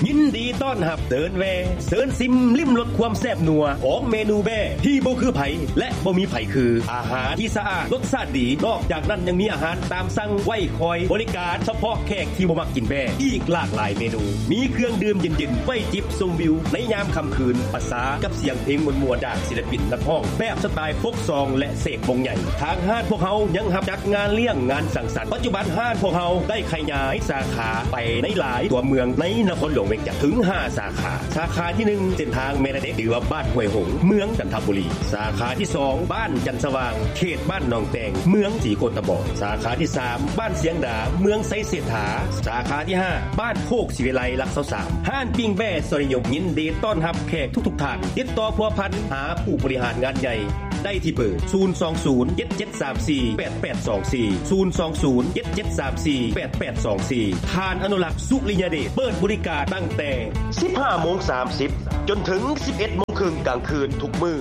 ຍິນດີຕ້ອນຮັບເດີນແວ່ ເຊີນຊິມລິມລົດຄວາມແຊບນົວຂອງເມນູແບ້ທີ່ບໍ່ຄືໃຜ ແລະ ບໍ່ມີໃຜຄື. ອາຫານທີ່ສະອາດ ລົດຊາດດີ, ນອກຈາກນັ້ນຍັງມີອາຫານຕາມສັ່ງໄວ້ຄອຍບໍລິການສະເພາະແຂກທີ່ບໍ່ມັກກິນແບ້ ອີກຫຼາກຫຼາຍເມນູ. ມີເຄື່ອງດື່ມເຢັນໆ ໄວ້ຈິບຊົມວິວໃນຍາມຄ່ຳຄືນ, ປະສານກັບສຽງເພງມ່ວນໆ ຈາກສິລະປິນນັກຮ້ອງແບບສະໄຕລ໌ປົກຊອງ ແລະ ເສກວົງໃຫຍ່. ທາງຮ້ານພວກເຮົາຍັງຮັບຈັດງານລ້ຽງ, ງານສັງສັນ. ປັດຈຸບັນຮ້ານພວກເຮົາໄດ້ຂະຫຍາຍສາຂາໄປໃນຫຼາຍຕົວເມືອງໃນນະຄອນຫຼວງວຽງຈັນ ເຖິງຫ້າສາຂາ. ສາຂາທີໜຶ່ງ ເສັ້ນທາງແມ່ນາເດັກ ຫຼືວ່າບ້ານຫ້ວຍຫົງ ເມືອງຈັນທະບູລີ. ສາຂາທີສອງ ບ້ານຈັນສະຫວ່າງ ເຂດບ້ານໜອງແຕງ ເມືອງສີໂຄດຕະບອງ. ສາຂາທີສາມ ບ້ານຊຽງດາ ເມືອງໄຊເສດຖາ. ສາຂາທີຫ້າ ບ້ານໂຄກສີວິໄລ ຫຼັກຊາວສາມ. ຮ້ານປີ້ງແບ້ຊອຍນິຍົມ ຍິນດີຕ້ອນຮັບແຂກທຸກໆທ່ານ. ຕິດຕໍ່ພົວພັນຫາຜູ້ບໍລິຫານງານໃຫຍ່ ໄດ້ທີ່ເບີ ສູນສອງສູນ ເຈັດເຈັດສາມສີ່ ແປດແປດສອງສີ່ ສູນສອງສູນ ເຈັດເຈັດສາມສີ່ ແປດແປດສອງສີ່. ທ່ານອະນຸລັກ ສຸລິຍະເດດ ເປີດບໍລິການຕັ້ງແຕ່ສິບຫ້າໂມງສາມສິບ ຈົນເຖິງສິບເອັດໂມງເຄິ່ງກາງຄືນທຸກມື້.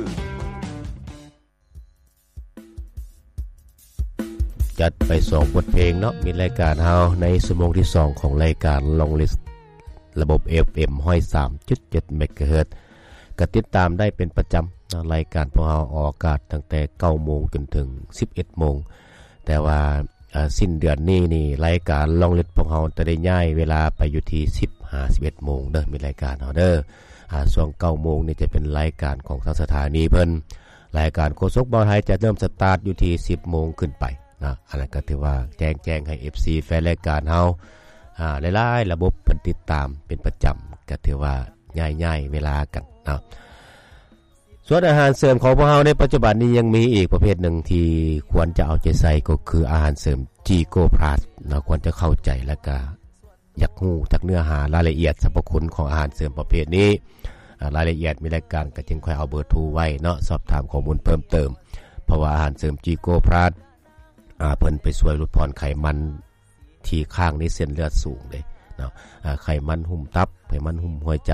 ຈັດໄປສອງບົດເພງເນາະ ມິດລາຍການເຮົາໃນຊົ່ວໂມງທີສອງຂອງລາຍການ Long List ລະບົບ ເອັຟເອັມ ຮ້ອຍສາມຈຸດເຈັດ ເມກາເຮີດ. ກໍຕິດຕາມໄດ້ເປັນປະຈຳເນາະ ລາຍການພວກເຮົາອອກອາກາດຕັ້ງແຕ່ເກົ້າໂມງຈົນເຖິງສິບເອັດໂມງ. ແຕ່ວ່າ ເອີ ສິ້ນເດືອນນີ້ນີ້ ລາຍການ Long List ພວກເຮົາຈະໄດ້ຍ້າຍເວລາໄປຢູ່ທີ່ສິບຫາສິບເອັດໂມງເດີ ມິດລາຍການເຮົາເດີ. ອາ ຊ່ວງເກົ້າໂມງນີ້ຈະເປັນລາຍການຂອງທາງສະຖານີເພິ່ນ. ລາຍການໂຄສົກເບົາໄທຈະເລີ່ມສະຕາດຢູ່ທີ່ສິບໂມງຂຶ້ນໄປເນາະ. ອັນນັ້ນກໍຖືວ່າແຈ້ງ ແຈ້ງໃຫ້ ເອັຟຊີ ແຟນລາຍການເຮົາ ອາ ຫຼາຍໆລະບົບເພິ່ນຕິດຕາມເປັນປະຈຳ ກໍຖືວ່າຍ້າຍ ຍ້າຍເວລາກັນເນາະ. ສ່ວນອາຫານເສີມຂອງພວກເຮົາໃນປັດຈຸບັນນີ້ຍັງມີອີກປະເພດໜຶ່ງທີ່ຄວນຈະເອົາໃຈໃສ່ ກໍຄືອາຫານເສີມ G Gold Plus ເນາະ. ຄວນຈະເຂົ້າໃຈ ແລະ ກະຢາກຮູ້ຈັກເນື້ອຫາລາຍລະອຽດ ສັບພະຄຸນຂອງອາຫານເສີມປະເພດນີ້ ອາ ລາຍລະອຽດມີລາຍການ ກະຈຶ່ງຄ່ອຍເອົາເບີໂທໄວ້ເນາະ ສອບຖາມຂໍ້ມູນເພີ່ມເຕີມ. ເພາະວ່າອາຫານເສີມ G Gold Plus ອາ ເພິ່ນໄປຊ່ວຍຫຼຸດຜ່ອນໄຂມັນ ທີ່ຄ້າງໃນເສັ້ນເລືອດສູງເດ້ເນາະ. ອາ ໄຂມັນຫຸ້ມຕັບ, ໄຂມັນຫຸ້ມຫົວໃຈ,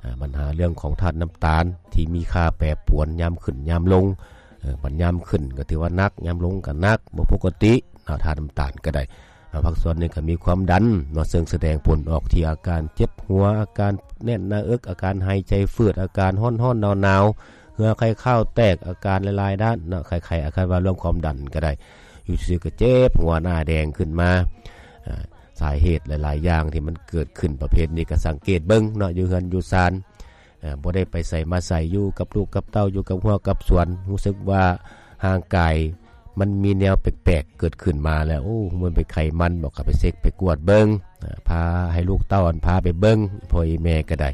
ອາ ບັນຫາເລື່ອງຂອງທາດນ້ຳຕານທີ່ມີຄ່າແປປວນຍາມຂຶ້ນຍາມລົງ. ເອີ ບັດຍາມຂຶ້ນກໍຖືວ່າໜັກ, ຍາມລົງກໍໜັກ, ບໍ່ປົກກະຕິເນາະ, ທາດນ້ຳຕານກໍໄດ້. ອາ ພາກສ່ວນນີ້ກໍມີຄວາມດັນເນາະ, ເຊິ່ງສະແດງຜົນອອກທີ່ອາການເຈັບຫົວ, ອາການແໜ້ນໜ້າເອິກ, ອາການຫາຍໃຈຝືດ, ອາການຮ້ອນໆໜາວໆ, ເຫື່ອໄຄຄາວແຕກ, ອາການຫຼາຍໆດ້ານເນາະ, ໄຂ້ໆ ອາການວ່າເລື່ອງຄວາມດັນກໍໄດ້. ຢູ່ຊື່ໆກໍເຈັບຫົວໜ້າແດງຂຶ້ນມາ. ອາ ສາເຫດຫຼາຍໆຢ່າງທີ່ມັນເກີດຂຶ້ນປະເພດນີ້ ກໍສັງເກດເບິ່ງເນາະ ຢູ່ເຮືອນຢູ່ຊານ. ອາ ບໍ່ໄດ້ໄປໃສມາໃສ ຢູ່ກັບລູກກັບເຕົ້າ ຢູ່ກັບຮົ້ວກັບສວນ ຮູ້ສຶກວ່າຮ່າງກາຍມັນມີແນວແປກໆເກີດຂຶ້ນມາແລ້ວ. ໂອ້ ມັນເປັນໄຂມັນບໍ ກໍໄປເຊັກໄປກວດເບິ່ງ. ອາ ພາໃຫ້ລູກເຕົ້າ ອັນ ພາໄປເບິ່ງ ພໍ່ອີ່ແມ່ກໍໄດ້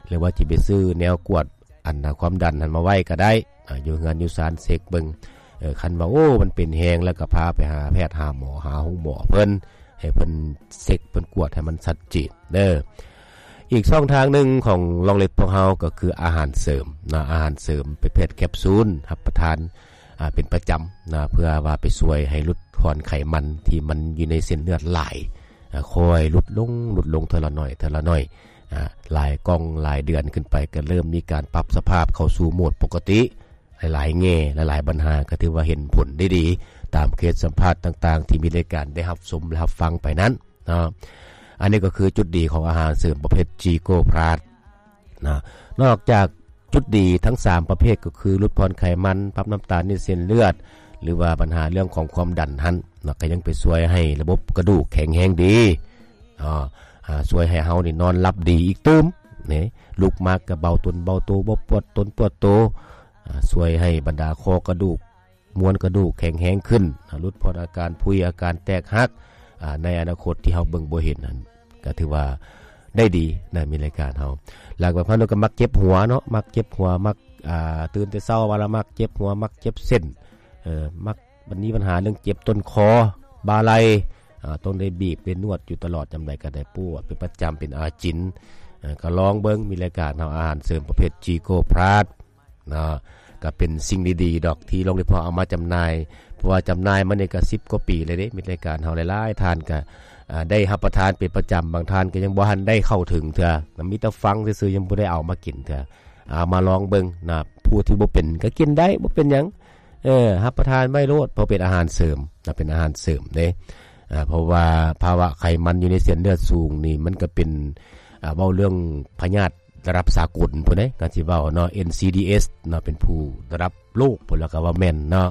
ຫຼືວ່າຊິໄປຊື້ແນວກວດ ອັນນະ ຄວາມດັນຫັ້ນມາໄວ້ກໍໄດ້. ອາ ຢູ່ເຮືອນຢູ່ຊານເຊັກເບິ່ງ. ເອີ ຄັນວ່າ ໂອ້ ມັນເປັນແຮງແລ້ວ ກໍພາໄປຫາແພດ ຫາໝໍ ຫາໂຮງໝໍເພິ່ນ ໃຫ້ເພິ່ນເຊັກ ເພິ່ນກວດໃຫ້ມັນຊັດເຈນເດີ. ອີກຊ່ອງທາງໜຶ່ງຂອງ Long List ພວກເຮົາກໍຄືອາຫານເສີມເນາະ, ອາຫານເສີມປະເພດແຄບຊູນ ຮັບປະທານ ອາ ເປັນປະຈຳນະ ເພື່ອວ່າໄປຊ່ວຍໃຫ້ຫຼຸດຜ່ອນໄຂມັນທີ່ມັນຢູ່ໃນເສັ້ນເລືອດຫຼາຍ ອາ ຄ່ອຍຫຼຸດລົງ ຫຼຸດລົງເທື່ອລະໜ້ອຍ ເທື່ອລະໜ້ອຍ. ອາ ຫຼາຍກ່ອງຫຼາຍເດືອນຂຶ້ນໄປ ກໍເລີ່ມມີການປັບສະພາບເຂົ້າສູ່ໂໝດປົກກະຕິ. ຫຼາຍໆແງ່ ຫຼາຍໆບັນຫາ ກໍຖືວ່າເຫັນຜົນໄດ້ດີ ຕາມເຄສສຳພາດຕ່າງໆ ທີ່ມີລາຍການໄດ້ຮັບຊົມ ແລະ ຮັບຟັງໄປນັ້ນເນາະ. ອັນນີ້ກໍຄືຈຸດດີຂອງອາຫານເສີມປະເພດ G Gold Plus ນະ. ນອກຈາກຈຸດດີທັງສາມປະເພດ ກໍຄືຫຼຸດຜ່ອນໄຂມັນ, ປັບນ້ຳຕານໃນເສັ້ນເລືອດ ຫຼືວ່າບັນຫາເລື່ອງຂອງຄວາມດັນຫັ້ນເນາະ, ກໍຍັງໄປຊ່ວຍໃຫ້ລະບົບກະດູກແຂງແຮງດີ. ເນາະ ອາ ຊ່ວຍໃຫ້ເຮົານີ້ນອນຫຼັບດີອີກຕື່ມເນາະ, ລຸກມາກໍເບົາຕົນເບົາໂຕ ບໍ່ປວດຕົນປວດໂຕ. ອາ ຊ່ວຍໃຫ້ບັນດາຂໍ້ກະດູກ ມວນກະດູກແຂງແຮງຂຶ້ນ, ອາ ຫຼຸດຜ່ອນອາການຜຸຍ ອາການແຕກຫັກ ອາ ໃນອະນາຄົດທີ່ເຮົາເບິ່ງບໍ່ເຫັນຫັ້ນ ກໍຖືວ່າໄດ້ດີນະ ມີລາຍການເຮົາ. ແລ້ວກໍພານຸກໍມັກເຈັບຫົວເນາະ, ມັກເຈັບຫົວ ມັກ ອາ ຕື່ນແຕ່ເຊົ້າມາແລ້ວມັກເຈັບຫົວ ມັກເຈັບເສັ້ນ ເອີ ມັກ ບັດນີ້ບັນຫາເລື່ອງເຈັບຕົ້ນຄໍ ບ່າໄຫຼ່ ອາ ຕ້ອງໄດ້ບີບໄດ້ນວດຢູ່ຕະຫຼອດ, ຍາມໃດກໍໄດ້ປວດເປັນປະຈຳ ເປັນອາຈິນ. ເອີ ກໍລອງເບິ່ງ ມີລາຍການເຮົາ ອາຫານເສີມປະເພດ G Gold Plus ເນາະ, ກໍເປັນສິ່ງດີໆດອກທີ່ Long List ເຮົາເອົາມາຈຳໜ່າຍ, ເພາະວ່າຈຳໜ່າຍມານີ້ກໍສິບກວ່າປີແລ້ວເດ້. ມີລາຍການເຮົາຫຼາຍໆທ່ານກໍ ອາ ໄດ້ຮັບປະທານເປັນປະຈຳ, ບາງທ່ານກໍຍັງບໍ່ທັນໄດ້ເຂົ້າເຖິງເທື່ອ, ມີແຕ່ຟັງຊື່ໆ ຍັງບໍ່ໄດ້ເອົາມາກິນເທື່ອ. ເອົາມາລອງເບິ່ງນະ, ຜູ້ທີ່ບໍ່ເປັນກໍກິນໄດ້ ບໍ່ເປັນຫຍັງ. ເອີ ຮັບປະທານໄວ້ໂລດ ເພາະເປັນອາຫານເສີມນະ, ເປັນອາຫານເສີມເດ້. ອາ ເພາະວ່າພາວະໄຂມັນຢູ່ໃນເສັ້ນເລືອດສູງນີ້ ມັນກໍເປັນ ອ່າ ເວົ້າເລື່ອງພະຍາດລະດັບສາກົນພຸ້ນເດ້ ການຊິເວົ້າເນາະ ເອັນຊີດີເອັສເນາະ ເປັນຜູ້ລະດັບໂລກພຸ້ນ ແລ້ວກໍວ່າແມ່ນເນາະ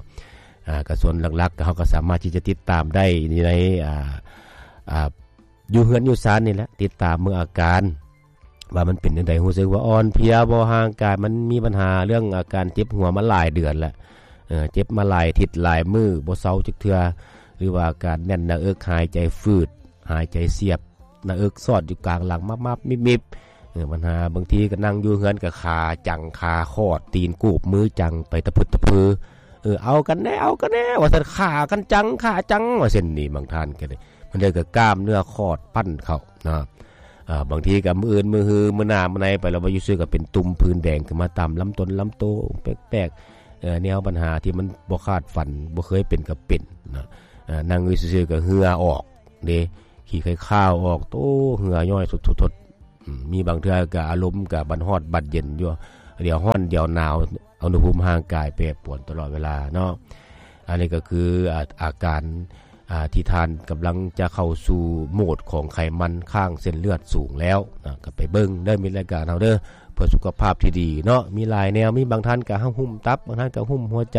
ອ່າ ກະສ່ວນຫຼັກໆ ເຮົາກໍສາມາດທີ່ຈະຕິດຕາມໄດ້ຢູ່ໃນ ອ່າ ອ່າ ຢູ່ເຮືອນຢູ່ຊານນີ້ແຫຼະ ຕິດຕາມເບິ່ງອາການ ວ່າມັນເປັນຈັ່ງໃດ ຮູ້ສຶກວ່າອ່ອນເພຍບໍ່ ຮ່າງກາຍມັນມີບັນຫາເລື່ອງອາການເຈັບຫົວມາຫຼາຍເດືອນແລ້ວ ເອີ ເຈັບມາຫຼາຍທິດຫຼາຍມື້ບໍ່ເຊົາຈັກເທື່ອ ຫຼືວ່າອາການແໜ້ນໜ້າເອິກ ຫາຍໃຈຝືດ ຫາຍໃຈສຽບ ໜ້າເອິກຊອດຢູ່ກາງຫຼັງ ມັບໆມິບໆ ເອີ ບັນຫາບາງທີກໍນັ່ງຢູ່ເຮືອນກໍຂາຈັງ ຂາຂອດ ຕີນກູບ ມືຈັງ ໄປຕະພຶດຕະເພີ ເອີ ເອົາກັນແດ່ ເອົາກັນແດ່ ວ່າຊັ້ນ ຂ້າກັນຈັງ ຂ້າຈັງ ວ່າຊັ້ນນີ້ ບາງທ່ານກໍໄດ້ ບາງເທື່ອກໍກ້າມເນື້ອຂອດປັ້ນເຂົ້າເນາະ ອ່າ ບາງທີກໍມື້ອື່ນມື້ຮື ມື້ໜ້າມື້ໃນໄປແລ້ວ ວ່າຢູ່ຊື່ກໍເປັນຕຸ່ມຜື່ນແດງຂຶ້ນມາຕາມລຳຕົ້ນລຳໂຕ ແປກໆ ເອີ ແນວບັນຫາທີ່ມັນບໍ່ຄາດຝັນ ບໍ່ເຄີຍເປັນກໍເປັນເນາະ ເອີ ນັ່ງຢູ່ຊື່ໆກໍເຫື່ອອອກເດ້ ຂີ້ໄຄຄາວອອກ ໂຕ ເຫື່ອຍ້ອຍສົດໆ ອືມ ມີບາງເທື່ອກໍອາລົມກໍບັດຮ້ອນບັດເຢັນຢູ່ ດຽວຮ້ອນດຽວໜາວ ອຸນຫະພູມຮ່າງກາຍແປປວນຕະຫຼອດເວລາເນາະ ອັນນີ້ກໍຄື ອາ ອາການ ອ່າ ທີ່ທ່ານກຳລັງຈະເຂົ້າສູ່ໂໝດຂອງໄຂມັນຄ້າງເສັ້ນເລືອດສູງແລ້ວນະ ກໍໄປເບິ່ງເດີ ມີລາຍການເຮົາເດີ ເພື່ອສຸຂະພາບທີ່ດີເນາະ ມີຫຼາຍແນວ ມີບາງທ່ານກໍຫຸ້ມຕັບ ບາງທ່ານກໍຫຸ້ມຫົວໃຈ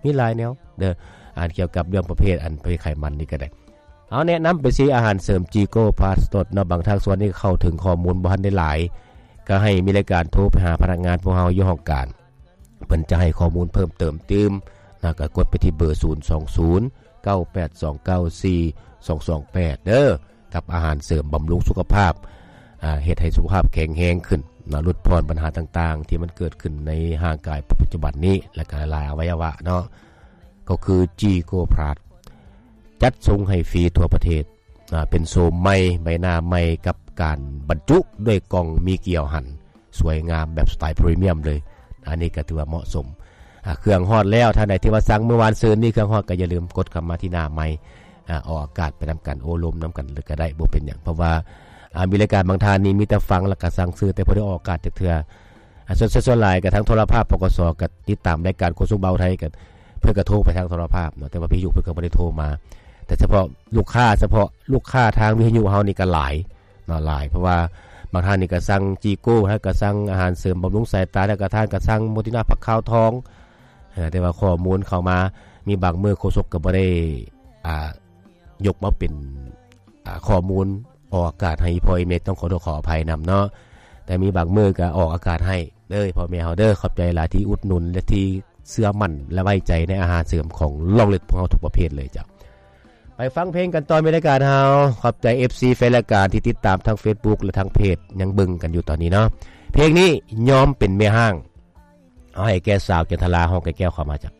ມີຫຼາຍແນວເດີ ອ່ານກ່ຽວກັບເລື່ອງປະເພດ ອັນປະເພດໄຂມັນນີ້ກໍໄດ້ ເຮົາແນະນຳໄປທີ່ອາຫານເສີມຈີໂກພລັສເນາະ ບາງທາງສ່ວນນີ້ເຂົ້າເຖິງຂໍ້ມູນບໍ່ທັນໄດ້ຫຼາຍ ກໍໃຫ້ມີລາຍການໂທໄປຫາພະນັກງານພວກເຮົາຢູ່ຫ້ອງການ ເພິ່ນຈະໃຫ້ຂໍ້ມູນເພີ່ມເຕີມຕື່ມນະ ກໍກົດໄປທີ່ເບີ ສູນສອງສູນ ເກົ້າແປດສອງເກົ້າສີ່ ສອງສອງແປດ ເດີ ກັບອາຫານເສີມບຳລຸງສຸຂະພາບ ອ່າ ເຮັດໃຫ້ສຸຂະພາບແຂງແຮງຂຶ້ນນະ ຫຼຸດຜ່ອນບັນຫາຕ່າງໆ ທີ່ມັນເກີດຂຶ້ນໃນຮ່າງກາຍປັດຈຸບັນນີ້ ແລະກໍຫຼາຍອະໄວຍະວະເນາະ ກໍຄືຈີໂກພລັສ ຈັດສົ່ງໃຫ້ຟຣີທົ່ວປະເທດ ອ່າ ເປັນໂສມໃໝ່ ໃບໜ້າໃໝ່ ກັບການບັນຈຸດ້ວຍກ່ອງມີກຽວຫັນ ສວຍງາມແບບສະໄຕພຣີມຽມເລີຍ ອັນນີ້ກໍຖືວ່າເໝາະສົມ ອ່າ ເຄື່ອງຮອດແລ້ວ ທ່ານໃດທີ່ວ່າສັ່ງມື້ວານຊືນນີ້ເຄື່ອງຮອດ ກໍຢ່າລືມກົດເຂົ້າມາທີ່ໜ້າໄມ ອ່າ ອອກອາກາດໄປນຳກັນ ໂອ້ລົມນຳກັນເລີຍກໍໄດ້ ບໍ່ເປັນຫຍັງ ເພາະວ່າ ອ່າ ມີລາຍການບາງທ່ານນີ້ມີແຕ່ຟັງ ແລ້ວກໍສັ່ງຊື້ ແຕ່ບໍ່ໄດ້ອອກອາກາດຈັກເທື່ອ ອ່າ ສ່ວນ ສ່ວນຫຼາຍກໍທາງໂທລະພາບ ປກສ ກໍຕິດຕາມລາຍການຄົນຊົງເບົາໄທ ກໍ ເພິ່ນກໍໂທໄປທາງໂທລະພາບເນາະ ແຕ່ວ່າວິທະຍຸເພິ່ນກໍບໍ່ໄດ້ໂທມາ ແຕ່ສະເພາະລູກຄ້າ ສະເພາະລູກຄ້າທາງວິທະຍຸເຮົານີ້ກໍຫຼາຍເນາະ ຫຼາຍ ເພາະວ່າບາງທ່ານນີ້ກໍສັ່ງຈີໂກ ແລ້ວກໍສັ່ງອາຫານເສີມບຳລຸງສາຍຕາ ແລ້ວກໍທ່ານກໍສັ່ງໂມຕິນາຜັກຂາວທອງ ເອີ ແຕ່ວ່າຂໍ້ມູນເຂົ້າມາ ມີບາງມື້ໂຄສົກກໍບໍ່ໄດ້ ອ່າ ຍົກມາເປັນ ອ່າ ຂໍ້ມູນອອກອາກາດໃຫ້ພໍ່ແມ່ ຕ້ອງຂໍໂທດຂໍອະໄພນຳເນາະ ແຕ່ມີບາງມື້ກໍອອກອາກາດໃຫ້ເດີ ພໍ່ແມ່ເຮົາເດີ ຂອບໃຈຫຼາຍທີ່ອຸດໜູນ ແລະ ທີ່ເຊື່ອໝັ້ນ ແລະ ໄວ້ໃຈໃນອາຫານເສີມຂອງລອງເລັດພວກເຮົາທຸກປະເພດເລີຍເຈົ້າ. ໄປຟັງເພງກັນຕໍ່ ມີລາຍການເຮົາ ຂອບໃຈເອັຟຊີແຟນລາຍການທີ່ຕິດຕາມທາງເຟສບຸກ ແລະ ທາງເພຈ ຍັງເບິ່ງກັນຢູ່ຕອນນີ້ເນາະ ເພງນີ້ຍອມເປັນແມ່ຮ້າງ ເອົາໃຫ້ແກ່ສາວຈັນທະລາ ຮ້ອງແກ້ວໆ ເຂົ້າມາເຈົ້າ.